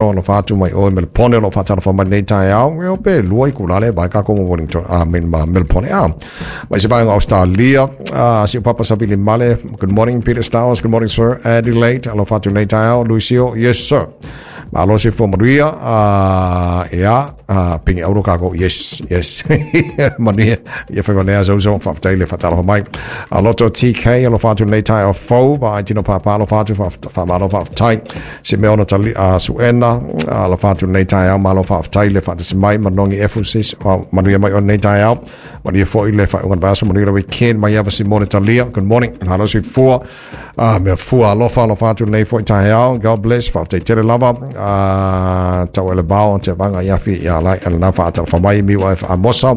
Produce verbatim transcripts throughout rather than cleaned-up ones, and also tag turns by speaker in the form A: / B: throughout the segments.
A: Alofa atu mai oe Melpone o lo faatalofa mai lenei taeao e o pe lua itula le vai kākou ma Wellington a me ma Melpone a mai se vaega Australia a si o Papa Savili Male. Good morning, Peter Stowers. Good morning, sir. Adelaide, alofa atu lenei taeao. Luisio, yes sir. Malo se fua manuia a ia a pingi auro kākou. Yes, yes, manuia ia whai manea zau zau faafetai le faatalofa mai a loto T K alofa atu lenei taeao fou ba ai tino pāpā alofa atu faamalo faafetai si mea ona tali a suena alofa atu lenei taeao malo faafetai le faatasi mai manongi Ephesus manuia mai o lenei taeao manuia foi le faaiuga vaiaso manuia le weekend mai ava si mo le talia. Good morning, malo si fua a mea fua alofa alofa atu lenei foi taeao. God bless, faafetai tele lava a tau ele bao te vanga ia fi ia lai ala na faatalofa mai mi wa amosa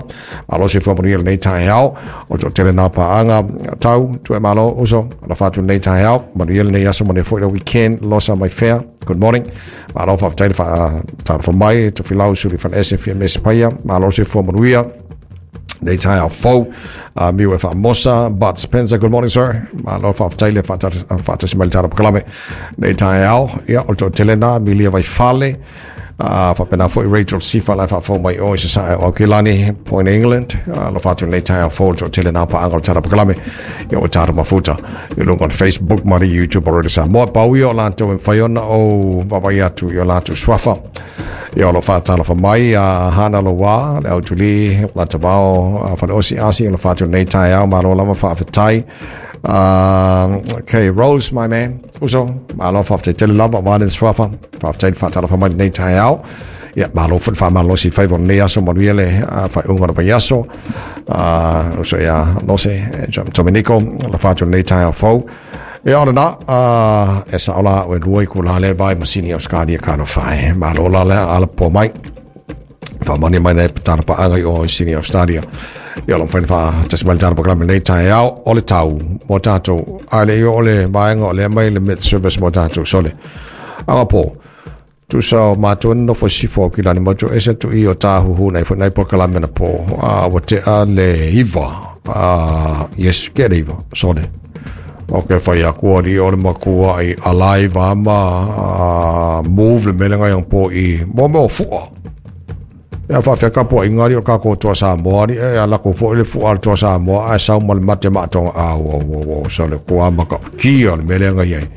A: malo si fua manuia lenei taeao o to tele na paanga tau tu e malo uso alofa atu lenei taeao manuia lenei aso manuia foi le weekend losa my fair. Good morning, malo faafetai le faatalofa mai to filau suli fan S F M S paia malo si fua manuia nei taeao fou uh, miu e faamosa Bud Spencer. Good morning, sir. Malo faafetai le faatasi mai le tala pakalame nei taeao ia o le toatele na milia vai fale uh, faapena foi Rachel Sifa lai faafou mai o i se sae o Aukilani Point England uh, lo faatu nei taeao fou le toatele na paanga o le tala pakalame ia o tata mafuta i luga o le Facebook ma le YouTube o Radio Samoa pau ia o latou e mafai ona ou vaavaai atu i o latou suafa ia o lo faatalofa mai a Hana Loa le autuli la tavao fale osi asi o lo faatu nei taeao malo lava faafetai. Uh, okay, Rose, my man. Uso, malo faafetai tele lava wa le suafa. Faafetai faatalofa mai nei taeao. Ia, malo foi faamalosi faiva o lenei aso manuia le faaiuga o le vaiaso. Uh, uso ia, Lose, Dominico, la faatu nei taeao fou. Ia o lena, uh, e sao la o e lua itula le vai masini Australia ka no whae. Malo la le ala po mai. Wha mai nei tana paanga i o Sini Australia. Ia lo whaina wha tasi mai tana pakalame nei taeao o le tau mo tātou. A le i o le vaenga o le mai le Met Service mo tātou sole. Anga po. Tusa o mātou nofo sifo ki lani motu ese tu i o tāhuhu nei nei pakalame na po. A wa te a le iwa. A, yes, ke le iwa, sole. O ke whai aku ari o le makua i alive ama uh, move le mele ngai ang po i mo mo fua. Ia whawhia ka po ingari o ka ko toa Samoa ni e ala ko fo le fua le toa Samoa a sau ma le mate matonga a o o o so le kua maka ki o le mele ngai ai.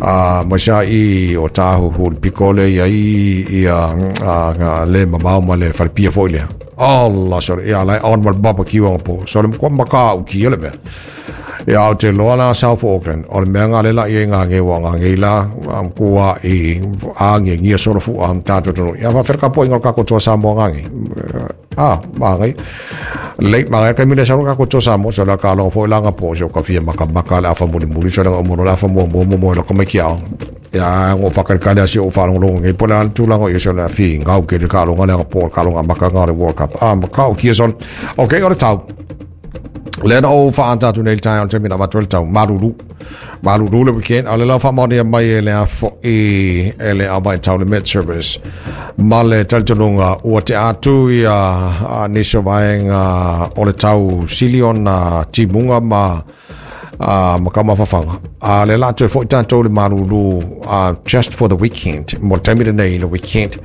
A: A ma sa i o tāhuhu le piko le ia i ia a, le mamao ma le wharipia fo i lea. Allah sorry, ia lai on ma le barbecue ang po. So le kua maka u ki le mea. Ia o te loa la South Auckland, o le mea ngā le la i ngā nge wa ngā nge la, am kua i a nge ngia solo fu am tātou tonu. Ia whawhera ka po inga kako toa Samoa ngā nge. Ah, mā ngai. Late mā ngai kai mile salo kako toa Samoa, so la ka longa fo i langa po, so ka fia maka maka le afa muli muli, so le ngā le afa mua mua mua mua lo ka mai ki ao. Ia ngo whakarekare asi o whalongo nge po le tūlanga i so le fi ngau ke le ka longa le po ka longa maka ngā le World Cup. Ah, maka o kia son. Okay, o le tau. Le na o whaantatu nei tae o te mina watu le tau maruru. Maruru le weekend. A le lau whaamaonia mai e le afo i e le awa i tau le Met Service. Ma le talitonunga ua te atu i a, a nisi o vaenga o le tau sili ona timunga ma a ma ka mafafanga. A le la toe foi tātou le maruru uh, just for the weekend. Mo le taimi nei le weekend.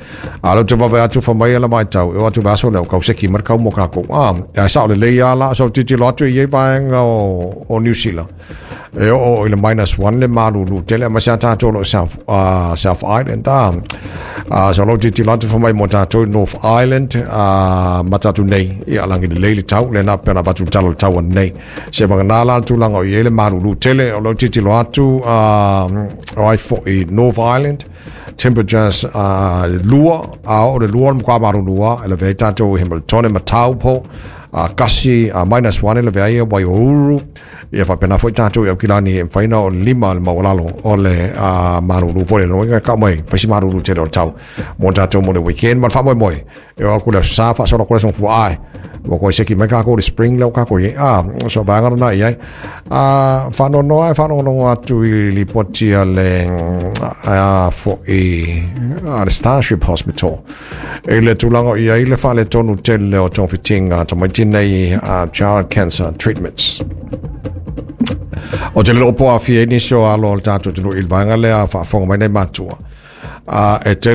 A: A lo te wawe atu wha mai ala mai tau. E o atu vaso leo kau seki mar kau mo kako. A, a sao le lei ala so titi lo atu i e vaenga o, o New Zealand. E o o i le minus one le maruru. Tele ma sea tātou lo South, uh, South Island. A, uh, so lo titi lo atu wha mai mo tātou North Island. Uh, ma tātou nei. I alangi le leile tau. Le na pena watu talo le tau nei. Se wanga nā la tūlanga o i ele maruru tele o lo titi lo atu uh, o ai fo i North Island temperatures uh, lua a o le lua mkwa maruru a ele vei tātou Hamilton ma Taupo uh, kasi uh, minus one ele vei Waiouru ia whapena foi tātou i Aukilani e whaina o lima le maualalo o le uh, maruru foi le noinga ka mai whaisi maruru tele o le tau mo tātou mo le weekend ma le whamoe moe e o aku le sa wha solo kore song fua ai mo koe seki mai kako le spring leo kako i a so baanga na i ai a whanono ai whanono atu i lipoti a le a fo i a le Starship Hospital e le tūlanga i ai le whale tonu tele o tōwhitinga tamaiti nei uh, child cancer treatments. O te lelo po a fia ni so alo o le tātou tunu i le vaenga lea whaafonga mai nei matua. Uh, e tele